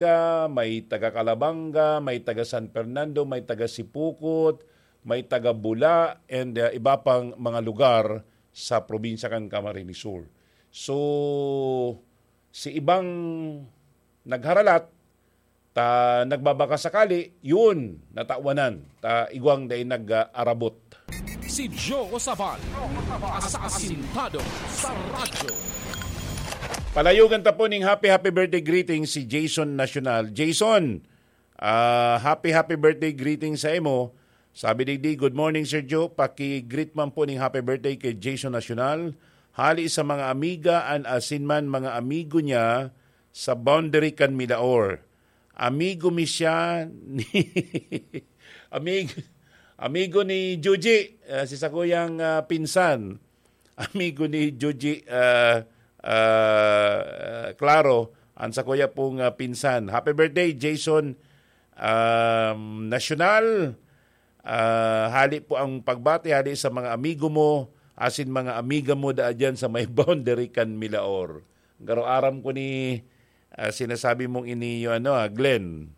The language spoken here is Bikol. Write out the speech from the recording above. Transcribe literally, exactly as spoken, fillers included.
Pampanga, may taga Calabanga, may taga San Fernando, may taga Sipocot, may taga Bula, and, uh, iba pang mga lugar sa probinsya kan Camarines Sur. So, si ibang nagharalat, ta nagbabaka sakali, yun, natawanan, ta igwang dai nag-arabot. Si Joe Sabal, asasintado sa radyo. Palayogan ta po ning happy, happy birthday greeting si Jason Nacional. Jason, ah, happy, happy birthday greeting sa imo. Sabi digdi, "Good morning, Sir Joe. Paki-greet man po ning happy birthday kay Jason Nacional. Hali sa mga amiga an asin man mga amigo niya sa boundary kan Milaor. Amigo mi siya ni, amig-, amigo ni Juji, ah, si sakuyang, ah, pinsan." Amigo ni Juji, ah, ah, Claro, ang sakuya pong, ah, pinsan. Happy birthday, Jason, um, Nacional. Ah, hali po ang pagbati, hali sa mga amigo mo, asin mga amiga mo daa dyan sa may boundary kan Milaor. Garo aram ko ni, ah, sinasabi mong ini, yung ano, ah, Glenn.